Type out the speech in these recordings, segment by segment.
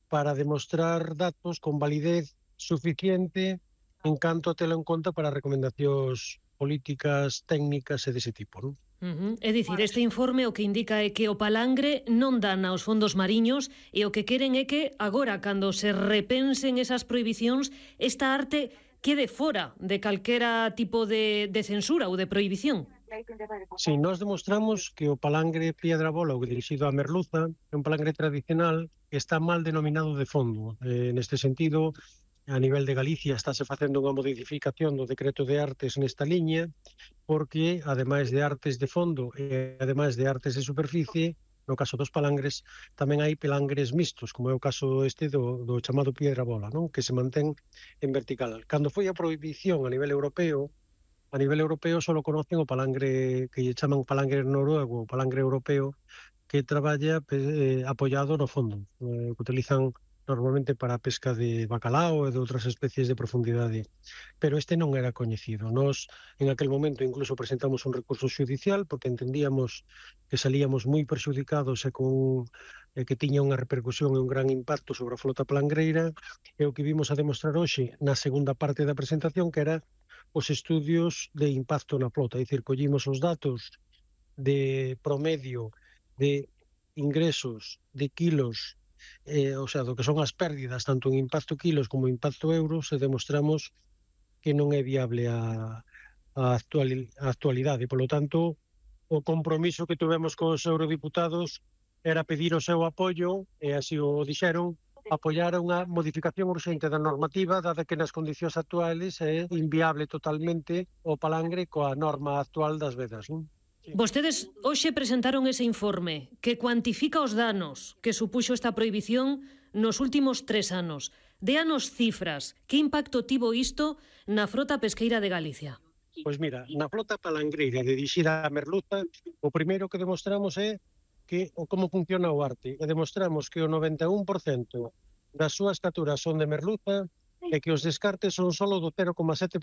para demostrar datos con validez suficiente en canto a telo en conta para recomendacións políticas, técnicas e dese tipo, non? É dicir, este informe o que indica é que o palangre non dana aos fondos mariños e o que queren é que agora, cando se repensen esas prohibicións, esta arte quede fora de calquera tipo de censura ou de prohibición. Si, nós demostramos que o palangre piedra bola ou dirixido á merluza é un palangre tradicional que está mal denominado de fondo. Neste sentido, a nivel de Galicia estáse facendo unha modificación do decreto de artes nesta liña, porque, ademais de artes de fondo e ademais de artes de superficie, no caso dos palangres, tamén hai pelangres mixtos, como é o caso este do chamado piedra bola, non? Que se mantén en vertical. Cando foi a prohibición a nivel europeo só conocen o palangre que lle chaman palangre noruego, o palangre europeo, que traballa apoiado no fondo, que utilizan normalmente para a pesca de bacalao e de outras especies de profundidade. Pero este non era coñecido. Nós, en aquel momento, incluso presentamos un recurso xudicial porque entendíamos que salíamos moi perxudicados e que tiña unha repercusión e un gran impacto sobre a flota palangreira, e o que vimos a demostrar hoxe na segunda parte da presentación, que era os estudios de impacto na flota. É dicir, collimos os datos de promedio de ingresos, de kilos, o sea, do que son as pérdidas, tanto en impacto kilos como en impacto euros, e demostramos que non é viable a actualidade. Por lo tanto, o compromiso que tuvemos cos eurodiputados era pedir o seu apoio, e así o dixeron, apoiar unha modificación urxente da normativa, dada que nas condicións actuales é inviable totalmente o palangre coa norma actual das vedas, non? Vostedes hoxe presentaron ese informe que cuantifica os danos que supuxo esta prohibición nos últimos 3 anos. Déanos cifras. Que impacto tivo isto na frota pesqueira de Galicia? Pois mira, na flota palangreira dirixida á merluza, o primeiro que demostramos é como funciona o arte. E demostramos que o 91% das súas capturas son de merluza e que os descartes son solo do 0,7%,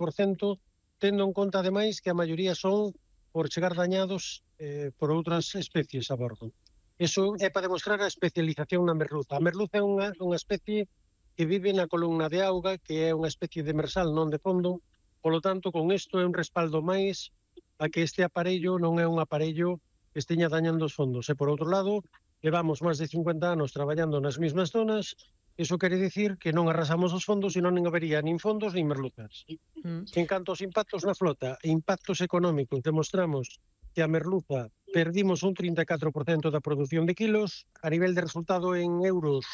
tendo en conta, ademais, que a maioría son por chegar dañados por outras especies a bordo. Iso é para demostrar a especialización na merluza. A merluza é unha especie que vive na columna de auga, que é unha especie de demersal, non de fondo. Polo tanto, con isto é un respaldo máis a que este aparello non é un aparello que esteña dañando os fondos. E, por outro lado, levamos máis de 50 anos traballando nas mesmas zonas. Iso quere dicir que non arrasamos os fondos e non habería nin fondos nin merluzas. En canto aos impactos na flota e impactos económicos, demostramos que a merluza perdimos un 34% da produción de kilos, a nivel de resultado en euros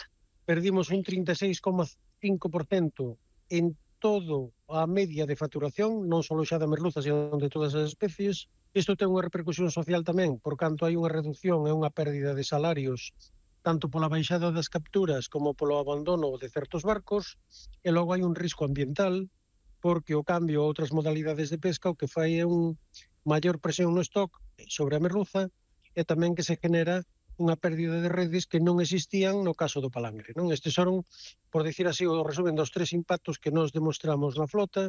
perdimos un 36,5% en todo a media de facturación, non só xa da merluza, sino de todas as especies. Isto ten unha repercusión social tamén, por canto hai unha reducción e unha pérdida de salarios tanto pola baixada das capturas como polo abandono de certos barcos, e logo hai un risco ambiental, porque o cambio a outras modalidades de pesca o que fai é un maior presión no stock sobre a merluza, e tamén que se genera unha pérdida de redes que non existían no caso do palangre, non? Estes son, por dicir así, o resumen dos 3 impactos que nos demostramos na flota,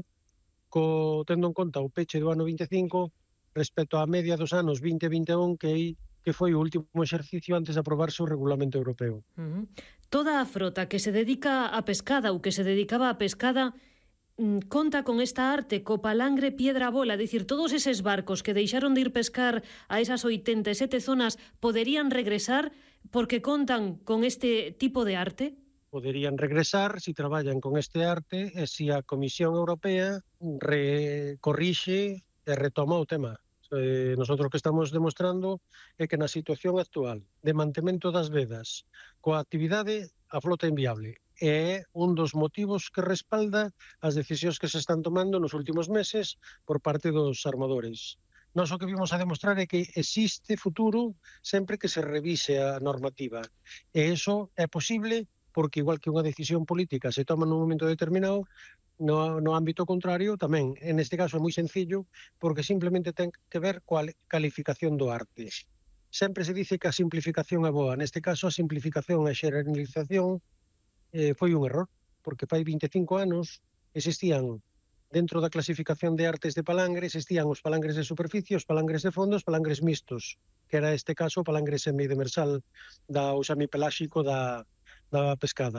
tendo en conta o peche do ano 25 respecto á media dos anos 20 e 21, que foi o último exercicio antes de aprobarse o regulamento europeo. Toda a frota que se dedica á pescada ou que se dedicaba á pescada conta con esta arte, co palangre piedra bola, dicir, todos eses barcos que deixaron de ir pescar a esas 87 zonas poderían regresar porque contan con este tipo de arte? Poderían regresar si traballan con este arte e si a Comisión Europea corrixe e retoma o tema. Nosotros que estamos demostrando é que na situación actual de mantemento das vedas coa actividade, a flota é inviable. É un dos motivos que respalda as decisións que se están tomando nos últimos meses por parte dos armadores. Nós o que vimos a demostrar é que existe futuro sempre que se revise a normativa. E iso é posible porque, igual que unha decisión política se toma nun momento determinado, no ámbito contrario tamén. En este caso é moi sencillo porque simplemente ten que ver coa calificación do arte. Sempre se dice que a simplificación é boa. Neste caso a simplificación e a xeneralización foi un error, porque fai 25 anos existían dentro da clasificación de artes de palangre, existían os palangres de superficie, os palangres de fondo, os palangres mixtos, que era este caso o palangre semidemersal ou semipeláxico da pescada.